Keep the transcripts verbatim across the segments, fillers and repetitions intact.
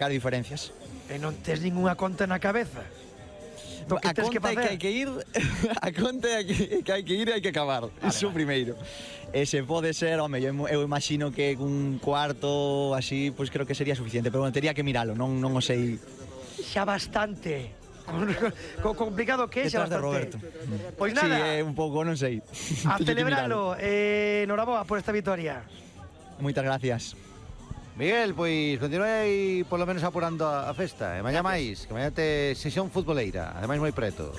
Cal diferencias. E non tes ninguna conta na cabeza? A conta é que hai que ir, a conta é que, que hai que ir e hai que acabar, vale, iso vale. Primeiro. E se pode ser, home, eu, eu imagino que un cuarto así, pois pues creo que sería suficiente, pero bueno, tería que miralo, non, non o sei. Xa bastante. Co complicado que é, xa bastante. De Roberto. Pois nada. Sí, é un pouco, non sei. A celebralo, eh, noraboa por esta victoria. Moitas gracias. Miguel, pois continuei polo menos apurando a, a festa. E mañá máis, que mañá te sesión futboleira, ademais moi preto.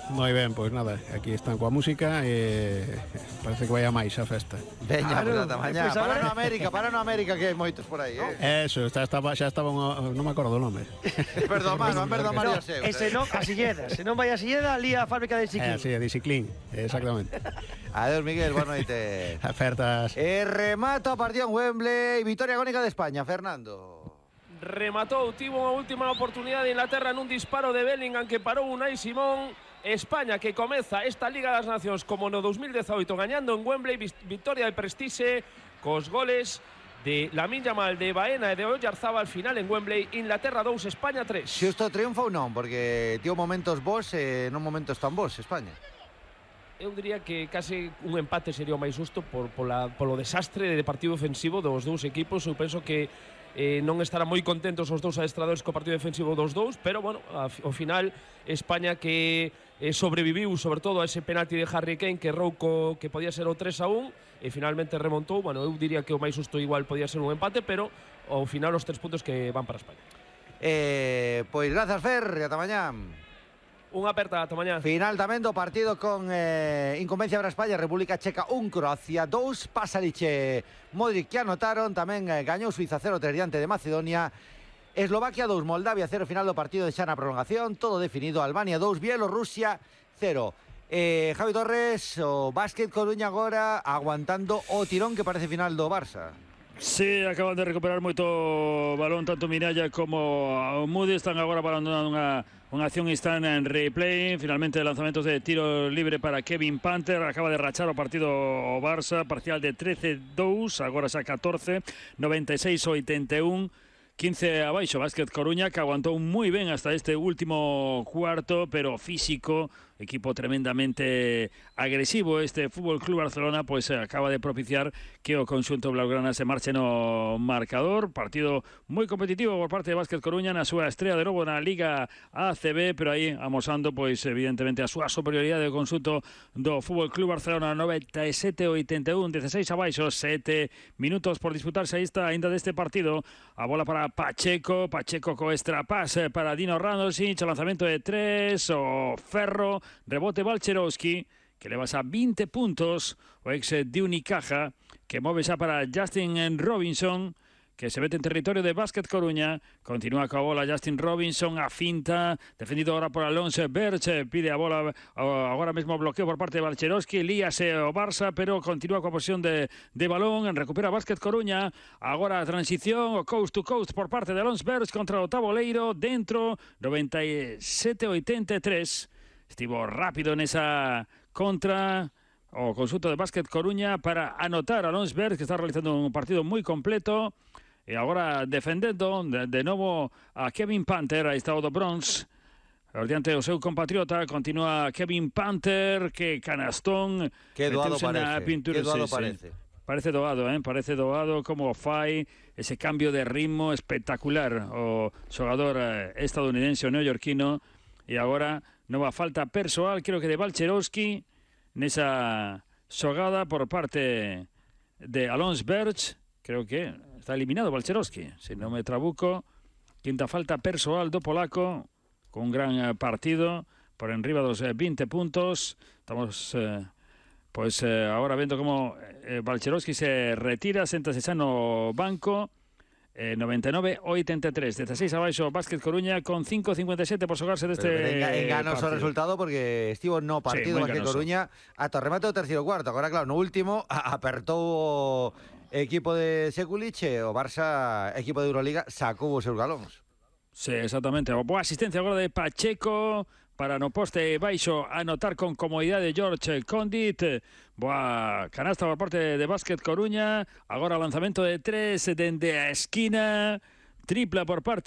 Moi ben, pois nada, aquí están coa música e parece que vai a máis a festa. Veña, claro, pues, mañá, pues, para no América, para no América, que hai moitos por aí, eh? Eso, xa estaba, xa estaba un, non me acordo o nome. Perdón, mano, perdón, María Seu. Ese non, a Silleda, se non vai a Silleda, ali a fábrica de Ciclín. Eh, sí, de Ciclín, exactamente. Adeus, Miguel, boa noite. Afertas. E remata o partido en Wembley, victoria agónica de España, Fernando. Rematou, tivo unha última oportunidade de Inglaterra nun disparo de Bellingham que parou Unai Simón. España que comeza esta Liga das Nacións como no dos mil dezaoito gañando en Wembley, victoria de Prestixe cos goles de Lamine Yamal, de Baena e de Oyarzabal, final en Wembley, Inglaterra dous, España tres. Xusto triunfo ou non? Porque tivo momentos bons e non momentos tan bons, España. Eu diría que case un empate sería o máis justo por, pola, polo desastre de partido ofensivo dos dous equipos. Eu penso que eh, non estarán moi contentos os dous adestradores co partido defensivo dos dous, pero, bueno, ao final, España que eh, sobreviviu, sobre todo, a ese penalti de Harry Kane que errou co, que podía ser o tres a un e finalmente remontou. Bueno, eu diría que o máis justo igual podía ser un empate, pero ao final os tres puntos que van para España. Eh, pois grazas, Fer, e ata mañá. Unha aperta, ata mañá. Final tamén do partido con eh, incumbencia para España, República Checa un, Croacia dous, Pasalic e Modric que anotaron, tamén eh, gañou Suiza cero tres diante de Macedonia, Eslovaquia dous, Moldavia cero, final do partido de xa na prolongación, todo definido, Albania dous, Bielorrusia cero. Eh, Javi Torres, o Básquet Coruña agora aguantando o tirón que parece final do Barça. Sí, acaban de recuperar moito balón, tanto Miralla como Moody, están agora abandonando unha Unha acción está en replay, finalmente lanzamentos de tiro libre para Kevin Panther, acaba de rachar o partido o Barça, parcial de trece dous, agora xa catorce, noventa e seis oitenta e un, quince abaixo, Básquet Coruña, que aguantou moi ben hasta este último cuarto, pero físico, equipo tremendamente agresivo. Este Fútbol Club Barcelona pues acaba de propiciar que o conxunto blaugrana se marche no marcador. Partido moi competitivo por parte de Básquet Coruña na súa estrea de novo na Liga A C B, pero aí amosando pois evidentemente a súa superioridade do conxunto do Fútbol Club Barcelona. Noventa e sete oitenta e un, dieciséis abaixo, sete minutos por disputarse aí está ainda deste partido. A bola para Pacheco, Pacheco co extrapase para Dino Radonjic, o lanzamento de tres, o Ferro, rebote Balcherovski, que leva a vinte puntos, o ex de Unicaja, que move xa para Justin Robinson, que se mete en territorio de Básquet Coruña, continúa coa bola Justin Robinson, a finta, defendido agora por Alonso Berch, pide a bola, agora mesmo bloqueo por parte de Balcherovski, líase o Barça, pero continúa coa posición de, de balón, recupera Básquet Coruña, agora a transición, o coast to coast por parte de Alonso Berch contra o taboleiro, dentro, noventa e sete oitenta e tres, estivo rápido nesa contra o conxunto de Básquet Coruña para anotar a Alonso Berch, que está realizando un partido moi completo. E agora defendendo de, de novo a Kevin Panther, aí está o do Bronx, diante do seu compatriota, continúa Kevin Panther, que canastón, que doado parece, pintura, que doado sí, parece. Sí. Parece doado, eh? parece doado como fai ese cambio de ritmo espectacular o xogador eh, estadounidense o neoyorquino. E agora nova falta persoal, creo que de Balcherovski, nesa xogada por parte de Alonso Berch, creo que está eliminado Balcherovski, se non me trabuco. Quinta falta persoal do polaco, con un gran partido, por enriba dos vinte puntos. Estamos eh, pois eh, agora vendo como eh, Balcherovski se retira, séntase xa no banco. eh, noventa e nove oitenta e tres, dezasseis abaixo Básquet Coruña con cinco cincuenta e sete por xogarse deste enganoso resultado, porque estivo no partido sí, Básquet Coruña ata o remate do terceiro cuarto. Agora claro, no último apertou equipo de Sekulic e o Barça, equipo de Euroliga, sacou os seus galóns. Sí, exactamente. Boa asistencia agora de Pacheco para no poste baixo anotar con comodidade George Condit. Boa canasta por parte de Básquet Coruña. Agora lanzamento de tres dende a esquina. Tripla por parte